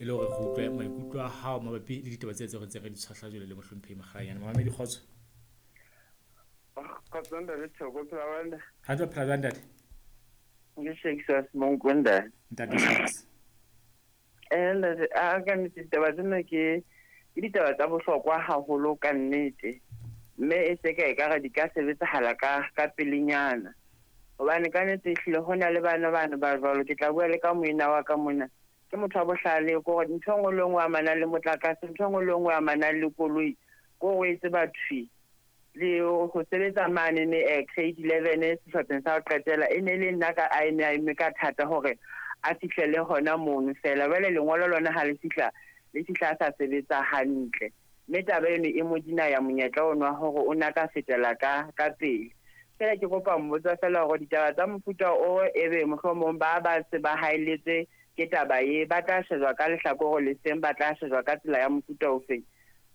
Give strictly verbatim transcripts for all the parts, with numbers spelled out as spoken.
E le hore re utlwe maikutlo a hao mabapi le ditaba tse tseo re ntse re di tshwahla jwale le mohlomphehi Makgalanyane. Mamamedi kgotso. Kgotso ntate Thoko, phela wena. Ha tlo phela jwang ntate? Ke Shakespeare Monko ntate. Ntate Shakes. Eh ntate, a ka nnete ditaba tsena ke ke ditaba tsa bohlokwa haholo ka nnete. Mme e se ka ekare di ka sebetsahala ka ka pelenyana. Hobane ka nnete ehlile ho na le bana bana ba jwalo, ke tla bua le ka moena wa ka mona. Ke motho wa bohlale, ko hore ntho e nngwe le nngwe amanang le motlakase, ntho e nngwe le nngwe amanang le koloi, ko o e tseba thwi. Le ho sebetsa mane ne eh, grade eleven sehlopheng sa ho qetela, e ne le nna ka a eme a eme ka thata hore a fihlele hona mono fela. Jwale lengolo lona ha le fihla, le fihla a sa sebetsa hantle. Mme taba eno e mo dina ya monyetla ono wa hore o na ka fetela ka ka pele. Fela ke kopa mmotsa fela hore ditaba tsa mofuta o ebe mohlomong ba ba se ba haeletswe ke taba e, ba tla shejwa ka lehlakore le seng, ba tla shejwa ka tsela ya mofuta ofeng.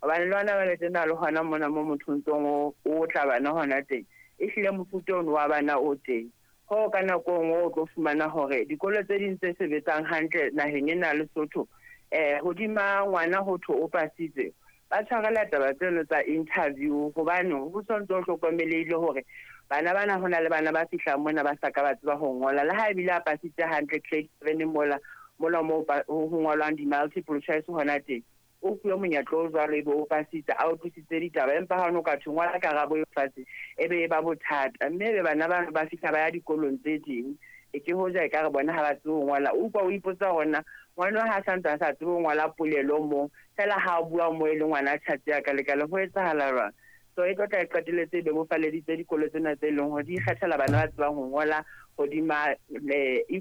Hobane le hona jwale tjena le hona mona mo motho ntsong o, o tla bana hona teng, ehlile mofuta ono wa bana o teng. Hoo ka nako e nngwe o tlo fumana hore dikolo tse ding tse sebetsang hantle naheng ena ya Lesotho, eh hodima ngwana ho thwe o pasitse, ba tshwarela taba tseno tsa interview, hobane ho sontso ho hlokomelehile hore bana bana ho na le bana ba fihlang mona ba sa ka ba tseba ho ngola. Le ha ebile a pasitse hantle grade seven mola, mola moo ho ngolwang di-multiple choice hona teng, o fuwe monyetla o jwalo ebe o pasitse, a utlwisitse ditaba, empa ha o no ka thwe ngola karabo e fatshe, ebe e ba bothata. Mme ebe bana bano ba fihla ba ya dikolong tse ding, e ke hoja ekare bona ha ba tsebe ho ngola. O utlwa o ipotsa hore na ngwana ha sa ntse a sa tsebe ho ngola polelo moo, fela ha a bua moo e le ngwana a tjhatsi a ka lekala, ho etsahala jwang? So e tlo tla e qetelletse e bebofaleditse dikolo tsena tse leng hore di ikgethela bana ba tsebang ho ngola hodima e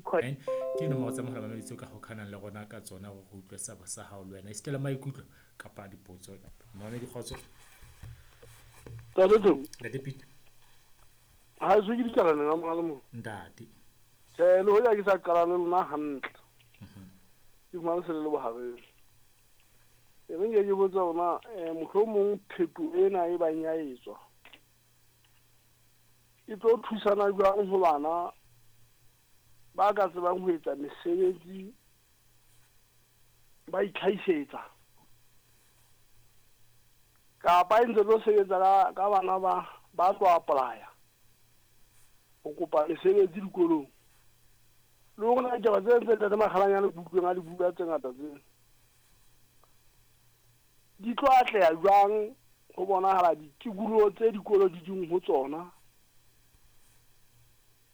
Ke nomoro tsa mohala mamedi tseo ka hokahanang le rona ka tsona hore re utlwe sabo sa hao le wena, esita le maikutlo kapa dipotso. Mamedi kgotso. Ntate Thoko. Ntate Peter. Ha se ke dikalane la mohala mo. Ntate. Tjhe, le hoja ke sa qala le lona hantle. Ke fumane se le le bohareng. E reng ke botsa hore na mohlomong pheto ena e bang ya etswa e tlo thusana jwang ho bana ba ka tsebang ho etsa mesebetsi ba itlhahisetsa, kapa e ntse tlo sebetsa ka, ka bana ba ba tlo apply-a ho kopa mesebetsi dikolong. Le hore na ditaba tse ntse Ntate Makgalanyane ke utlweng a di bua tse ngata tseo di tlo atleha jwang ho bonahala ditikoloho tse dikolo di ding ho tsona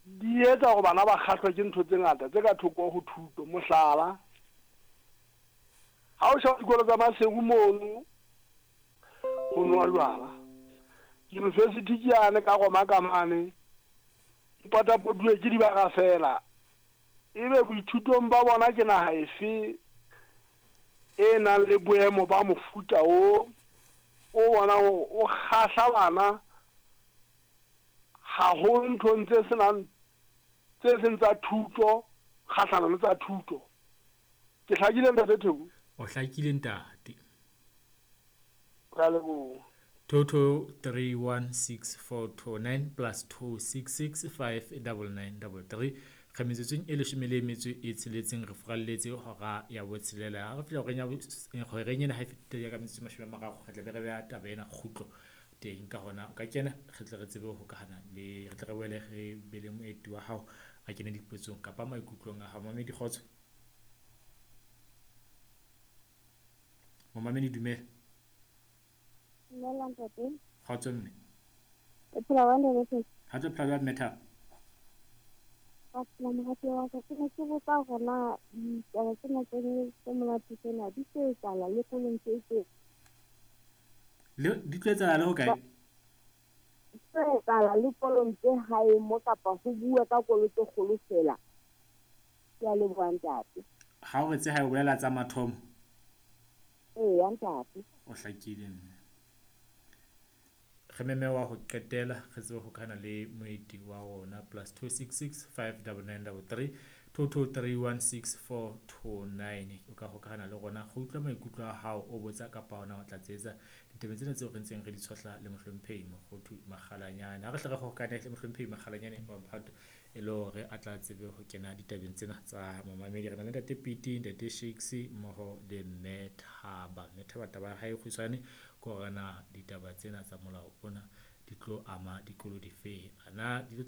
di etsa hore bana ba kgahlwe ke ntho tse ngata tse ka thoko ho thuto. Mohlala, ha o sheba dikolo tsa Maseru mono ho nwa jwala, university ke yane ka Roma ka mane, potapotuwe ke dibaka fela. Ebe boithutong ba bona ke naha efe e nang le boemo ba mofuta o o bonang hore o kgahla bana haholo nthong tse senang, tse seng tsa thuto, kgahlano le tsa thuto. Ke hlakile ntate Theko? O hlakile ntate. Ka leboha. Two two three one six four two nine plus two six six five double nine double three. Re metsotsong e leshome le metso e tsheletseng re furalletse hora ya botshelela. Ha re fihla horeng ya bo-, horeng ena ha e fetile ka metsotso e mashome a mararo, re tla be re beha taba ena kgutlo teng. Ka hona o ka kena, re tle re tsebe ho hokahana le, re tle re boele re be le moeti wa hao a kene dipotsong kapa maikutlong a hao. Mamedi kgotso. Momamedi dumela. Dumela ntate. Kgotso mme. O phela jwang ntate? Ha tlo phela jwang mme Thabo? Ka phela morati wa ka. Ke ne ke botsa hore na ditaba tsena tse tse monate tsena di tlo etsahala le kolong tse tse? Le di tlo etsahala le hokae? Di tlo etsahala le kolong tse hae mo, kapa ho bua ka kolo tse kgolo fela? Ke a leboha ntate. Ha o re tse hae o bolela tsa mathomo? Eya ntate. O hlakile mme. Re meme wa ho qetela re tsebe ho hokahana le moeti wa rona plus two six six five double nine double three two two three one six four two nine. O ka hokahana le rona go utlwa maikutlo a hao, o botsa kapa hona o tlatsetsa ditaba tsena tseo re ntseng re di tshohla le mohlomphehi Mokgothu Makgalanyane. Ha re hle re hokahane le mohlomphehi Makgalanyane wa Mphato e le hore a tla tsebe ho kena ditabeng tsena tsa momamedi. Re na le ntate Piti, ntate Shakes mmoho le mme Thaba. Mme Thaba taba ya hae e kgutshwane ke hore na ditaba tsena tsa molao ona di tlo ama dikolo difeng, ana di tlo tla.